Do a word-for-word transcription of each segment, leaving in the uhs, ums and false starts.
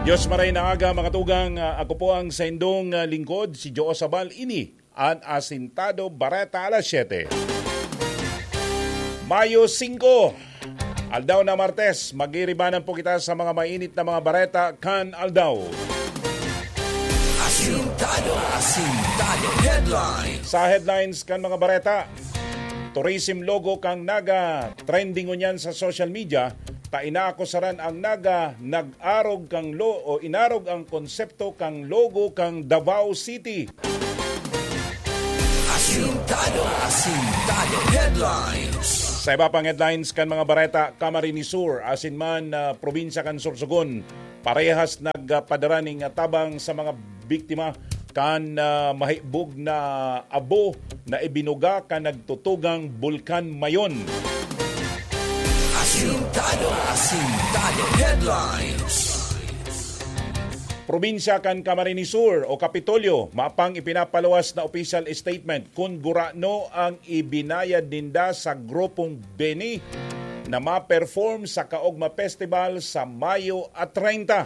Diyos maray na aga, mga tugang. Ah, ako po ang saindong, ah, lingkod, si Joe Sabal. Ini an Asintado Bareta alas siyete. Mayo singko, aldaw na Martes, magiribanan po kita sa mga mainit na mga bareta kan aldaw. Asintado, Asintado Headlines. Sa headlines kan mga bareta, tourism logo kan Naga, trending ngunyan sa social media, ta inaakusaran ang Naga nag-arog kan lo-, o inarog ang konsepto kan logo kan Davao City. Asintado, Asintado Headlines. Sa iba pang headlines kan mga bareta, Camarines Sur, asin man, ah, probinsya kan Sorsogon, parehas nagpadara ning tabang sa mga biktima kan, ah, mahibog na abo na ibinuga kan nagtutugang Bulkan Mayon. Asintado, Asintado Headlines. Probinsya kan Camarines Sur o Kapitolyo, mapang ipinapaluwas na official statement kun gurano ang ibinayad ninda sa grupong Beni na ma-perform sa Kaogma Festival sa Mayo a treinta.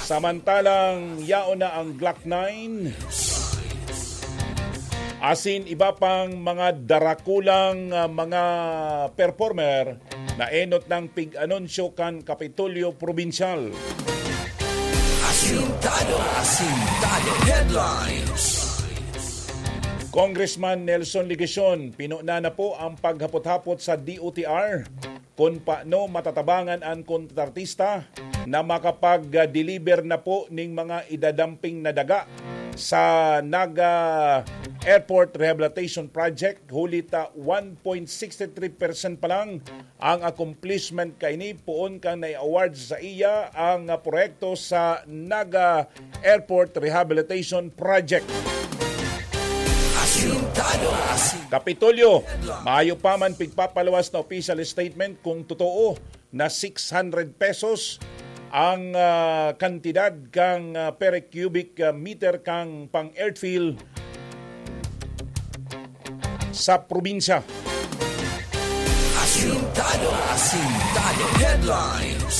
Samantalang yaon na ang Glock nine, asin iba pang mga darakulang, ah, mga performer na enot ng pig-anunsyo kan Kapitolyo Probinsyal. Asintado, Asintado Headlines. Congressman Nelson Legacion, pinuna na po ang paghapot-hapot sa D O T R kun paano matatabangan an kontratista na makapag-deliver na po ning mga idadamping na daga sa Naga Airport Rehabilitation Project, huli ta one point six three percent pa lang ang accomplishment kaini poon kan nai-award sa iya ang, ah, proyekto sa Naga Airport Rehabilitation Project. Asintado, Asintado. Kapitolyo, mayo pa man pigpapaluwas na official statement kung totoo na six hundred pesos ang, ah, kantidad kan, ah, per cubic, ah, meter kan pang-earthfill sa probinsya. Asintado, Asintado Headlines.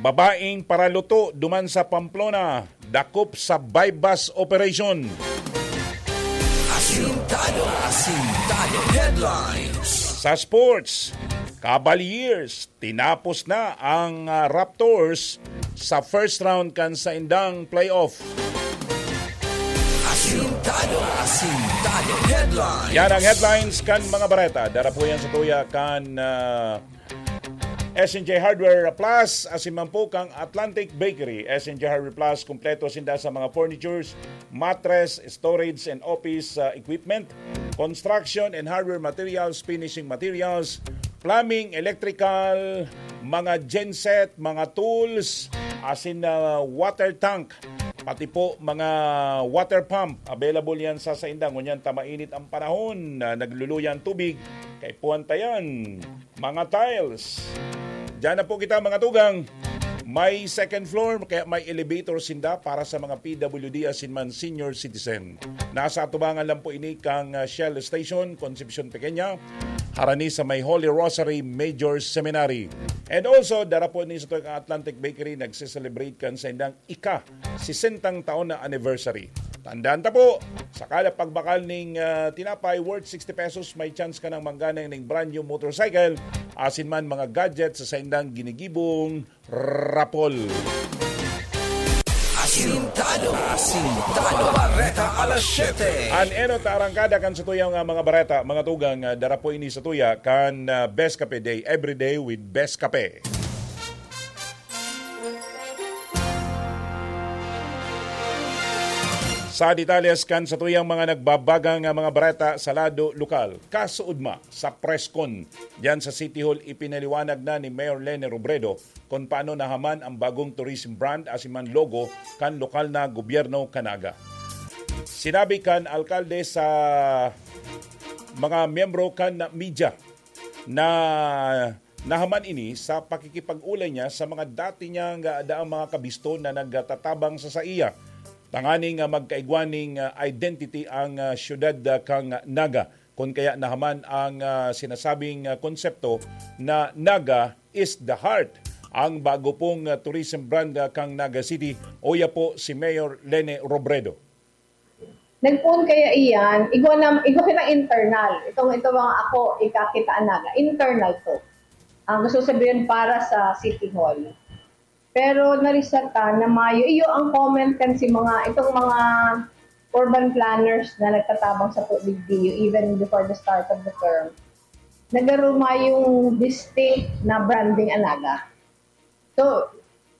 Babaeng paraluto duman sa Pamplona, dakop sa buy-bust operation. Asintado, Asintado Headlines. Sa sports, Cavaliers, tinapos na ang, ah, Raptors sa first round kan saindang playoff. Asintado, Asintado Headlines. Yan ang headlines kan mga bareta. Dara po yan sa tuya kan, ah, S N J Hardware Plus, asin man po kang Atlantic Bakery. S N J Hardware Plus, kompleto sinda sa mga furnitures, mattress, storage and office, ah, equipment, construction and hardware materials, finishing materials, plumbing, electrical, mga genset, mga tools, asin na water tank, pati po mga water pump. Available yan sa sainda. Ngunyan ta mainit ang panahon, na nagluluya ang tubig, kaipuhan ta yan. Mga tiles. Diyan na po kita, mga tugang. May second floor, kaya may elevator sinda para sa mga P W D asin man senior citizen. Nasa atubangan lang po ini kang, ah, Shell Station, Concepcion Pequeña, harani sa may Holy Rosary Major Seminary. And also, dara po ni sa Atlantic Bakery, nagse-celebrate kan saindang ika sesentang taon na anniversary. Tandaan ta po, sa kada pagbakal ning, ah, tinapay worth sixty pesos, may chance ka nang mangganay ning brand new motorcycle, asin man mga gadget sa saindang ginigibong rapol. Asintado, Asintado Bareta alas siyete. An enot na arangkada kan satuyang, ah, mga bareta, mga tugang, ah, dara po ini sa tuya kan, ah, Best Kape Day, every day with Best Kape. Sa detalles kan satuyang mga nagbabagang, ah, mga bareta sa lado lokal, kasuodma sa press con diyan sa City Hall, ipinaliwanag na ni Mayor Leni Robredo kung paano nahaman ang bagong tourism brand asin man logo kan lokal na gobyerno kan Naga. Sinabi kan alkalde sa mga miyembro kan media na nahaman ini sa pakikipag-ulay niya sa mga dati niyang, ah, daang mga kabisto na nagtatabang sa saiya, tanganing, ah, magkaigwa ning, ah, identity ang, ah, siyudad, ah, kan Naga. Kun kaya nahaman ang, ah, sinasabing, ah, konsepto na Naga is the heart ang bago pong, ah, tourism brand, ah, kang Naga City. Uya po si Mayor Lene Robredo. Nagpoon kaya iyan, igwa na, igwa kita internal. Itong, ito mga ako, ikakita ang Naga. Internal to. Ang gusto sabihin para sa City Hall. Pero narisata na mayo, iyo ang comment kan si mga, itong mga urban planners na nagtatabang sa P D P, even before the start of the term, nagaro mayong distinct na branding ang Naga. So,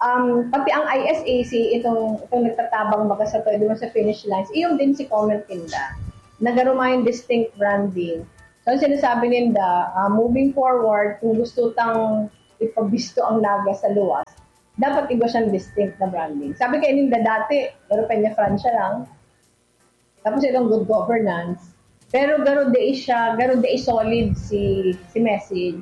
um, pati ang I S A C, itong, itong nagtatabang baga sa pwede mo sa finish lines, iyong din si comment ninda. Nagaro mayong distinct branding. So, ang sinasabi ninda, ah, moving forward, kung gusto tang ipabisto ang Naga sa luwas, dapat iba siyang distinct na branding. Sabi kayo ninda dati, pero Peña Francia lang. Tapos itong good governance. Pero garo dai siya, garo dai solid si, si message.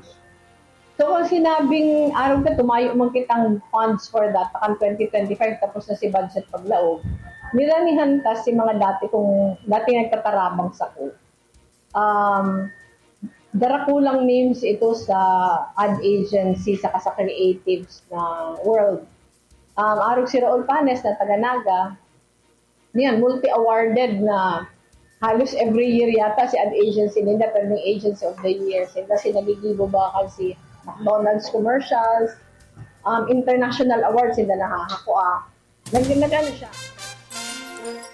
So, kung sinabing araw ka, tumayo man kitang funds for that, takan twenty twenty-five, tapos na si budget paglaog, niranihan ta si mga dati kong, dati nagtatarabang sa ko. Um, darakulang names ito sa ad agency saka sa creatives na world. Um, arog si Raul Panes na taga Naga, niyan, multi-awarded na halos every year yata si ad agency ninda, pero may agency of the year. Sinda si Nagigibo Bakal, si McDonald's commercials, um, international awards, sinda nahahakua. Nag-, nag-ano siya?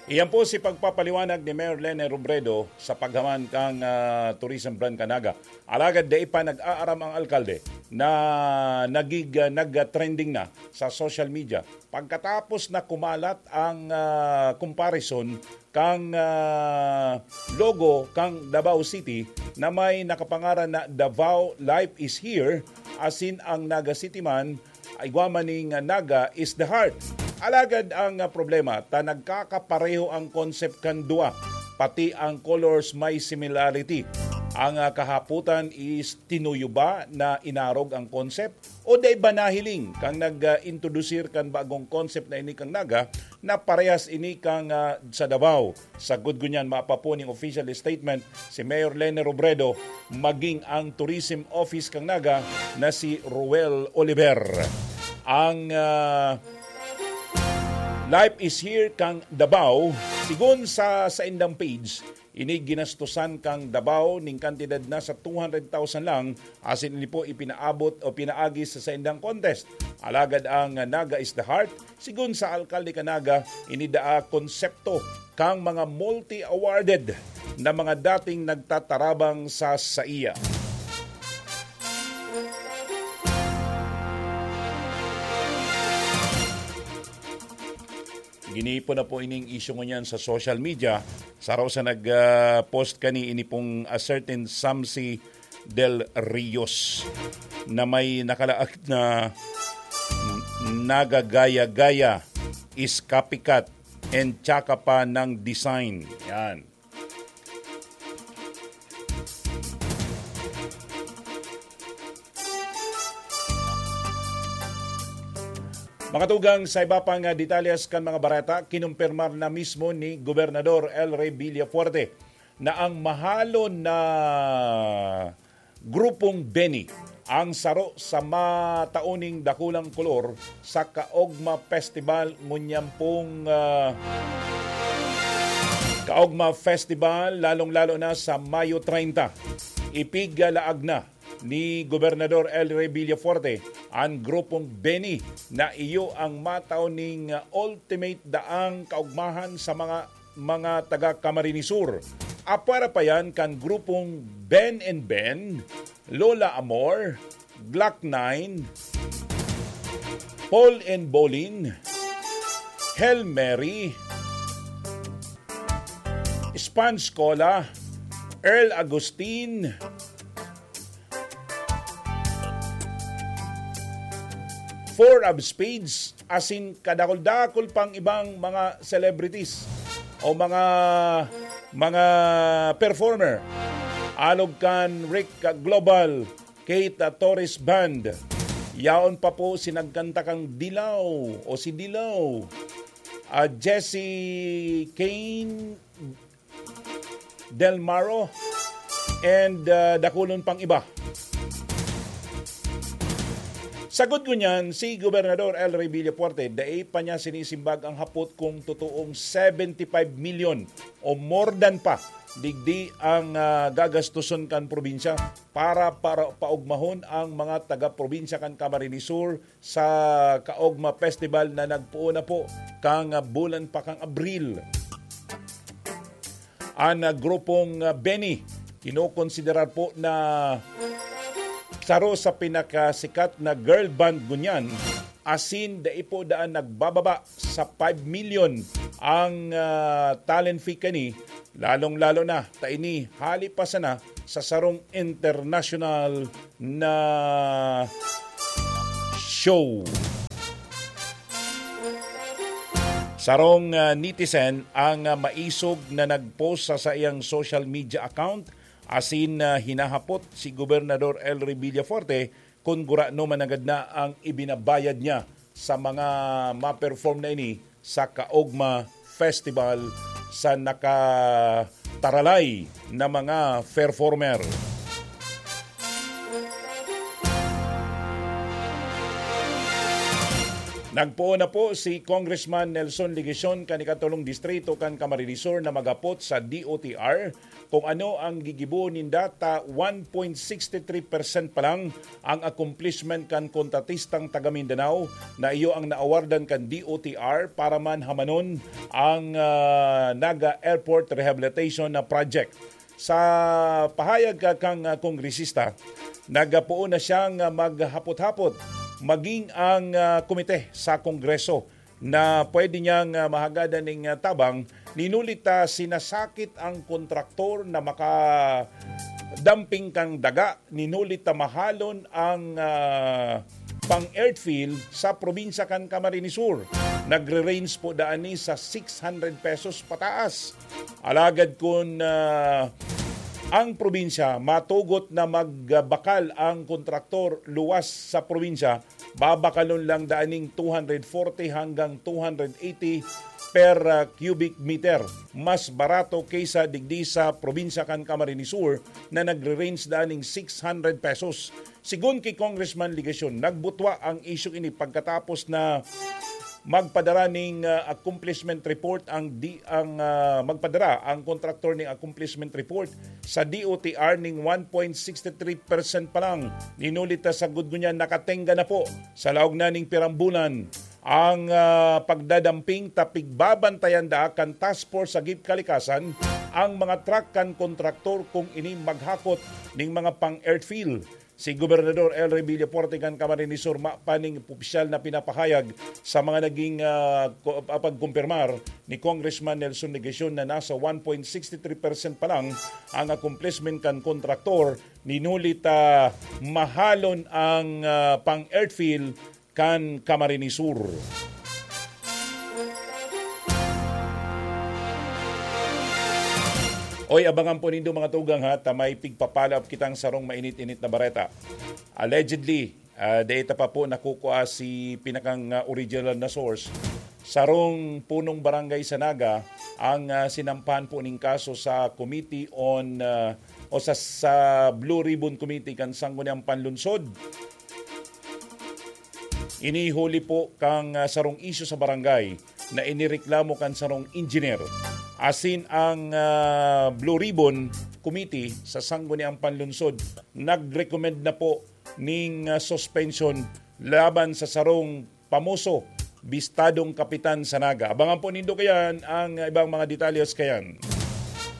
Iyan po si pagpapaliwanag ni Mayor Lene Robredo sa paghawan kang, ah, tourism brand kan Naga. Alagad dai pa nag-aaram ang alkalde na nagig-, ah, nag-trending na sa social media. Pagkatapos na kumalat ang, ah, comparison kang, ah, logo kang Davao City na may nakapangaran na Davao Life is Here, asin ang Naga City man, igwa man ning, ah, Naga is the heart. Alagad ang, ah, problema, ta nagkakapareho ang concept kan duwa, pati ang colors may similarity. Ang, ah, kahapotan is tinuyo ba na inarog ang concept o dai ba nahiling kang nag, ah, introdusir kan bagong concept na ini kang Naga na parehas ini kang, ah, sa Davao? Sagkod ngunyan, maapapon ning official statement si Mayor Lene Robredo, maging ang tourism office kang Naga na si Roel Oliver. Ang, ah, Life is Here kang Davao, sigon sa saindang page, ini ginastosan kang Davao ning kantidad na sa two hundred thousand lang, asin ini po ipinaabot o pinaagi sa saindang contest. Alagad ang Naga is the Heart, sigon sa alkalde kan Naga, ini daa konsepto kang mga multi-awarded na mga dating nagtatarabang sa saiya. Ginipo na po ining isyu ngunyan sa social media. Saro sa nag, ah, post kani, ini pong a certain Samsi Del Rios na may nakalaag na nagagaya-gaya, is copycat, and tsaka pa ng design. Yan. Mga tugang, sa iba pang, ah, detalyes kan mga bareta, kinumpirmar na mismo ni Gobernador El Rey Villafuerte na ang mahalon na grupong Benny ang saro sa mataoning dakulang kolor sa Kaogma Festival ngunyan pong, ah, Kaogma Festival, lalong-lalo na sa Mayo treinta. Ipigalaag na ni Gobernador El Rey Villafuerte an grupong Benny na iyo ang matao ning ultimate daang kaogmahan sa mga, mga taga Camarines Sur. Apwera pa yan kan grupong Ben and Ben, Lola Amor, Glock nine, Paul and Bolin, Hail Mary, Sponge Cola, Earl Agustin, Four of Spades, asin kadakul-dakul pang ibang mga celebrities o mga, mga performer. Alog kan Rick Global, Kate Torres Band. Yaon pa po si nagkanta kang Dilaw o si Dilaw, ah, Jesse Kane Del Maro, and, ah, dakulon pang iba. Sagod ngunyan, si Gobernador El Rey Villafuerte, dai pa niya sinisimbag ang hapot kung totoong seventy five million o more than pa digdi ang ah, gagastuson kan probinsya para, para paugmahon ang mga taga-probinsya kan Camarines Sur sa Kaogma Festival na nagpoon na po kan ah, bulan pa kan Abril. An ah, grupong ah, Benny, kinokonsiderar po na saro sa pinakasikat na girl band ngunyan, asin dai po daan nagbababa sa five million ang ah, talent fee kani, lalong-lalo na ta ini hali pa sana sa sarong international na show. Sarong ah, netizen ang ah, maisog na nag-post sa saiyang social media account asin ah, hinahapot si Gobernador El Rey Villafuerte kun gurano man nanggad na ang ibinabayad niya sa mga ma-perform na ini sa Kaogma Festival sa nakataralay na mga performer. Nagpoon na po si Congressman Nelson Legacion kan ikatolong distrito kan Camarines Sur na maghapot sa D O T R kung ano ang gigibo ninda ta one point six three percent pa lang ang accomplishment kan kontratistang taga Mindanao na iyo ang naawardan kan D O T R para man hamanon ang ah, Naga Airport Rehabilitation na project. Sa pahayag ka kang ah, kongresista, nagpoon na siyang ah, maghapot-hapot maging ang ah, komite sa Kongreso na pwede niyang ah, mahagadan ning ah, tabang, ninulit ta sinasakit ang kontraktor na makadamping kang daga, ninulit ta mahalon ang ah, pang-earthfill sa probinsya kan Camarines Sur. Nagre-range po daan ni sa six hundred pesos pataas. Alagad kun ah, ang probinsya matugot na magbakal ang kontraktor luwas sa probinsya, babakalon lang daan ning two hundred forty hanggang two hundred eighty per ah, cubic meter. Mas barato kaysa digdi sa probinsya kan Camarines Sur na nagre-range daan ning six hundred pesos. Sigon ki Congressman Legacion, nagbutwa ang isyu ini pagkatapos na magpadara ning ah, accomplishment report ang di ang ah, magpadara ang kontraktor ning accomplishment report sa D O T R ning one point six three percent pa lang. Ninulit ta sagod ngunyan nakatengga na po sa laog na ning pirang bulan ang ah, pagdadamping ta pigbabantayan da kan task force sa G I P Kalikasan ang mga truck kan kontraktor kung ini maghakot ning mga pang-earthfill. Si Gobernador El Rey Villafuerte kan Camarines Sur mapaning opisyal na pinapahayag sa mga naging ah, ko- ah, pagkumpirmar ni Congressman Nelson Legacion na nasa one point six three percent pa lang ang accomplishment kan kontraktor. Ninulit ta mahalon ang ah, pang-earthfill kan Camarines Sur. Oy, abangan po nindo mga tugang ha, ta may pigpapalap kitang sarong mainit-init na bareta. Allegedly, ah, data pa po nakukua si pinakang ah, original na source. Sarong punong barangay sa Naga ang ah, sinampahan po ning kaso sa Committee on ah, o sa, sa Blue Ribbon Committee kan Sangguniang Panlunsod. Inihuli po kang ah, sarong isyu sa barangay na inireklamo kan sarong engineer. Asin ang ah, Blue Ribbon Committee sa Sangguniang Panlunsod nag-recommend na po ning ah, suspension laban sa sarong pamoso, bistadong kapitan sa Naga. Abangan po nindo kayan ang ibang mga detalles kayan.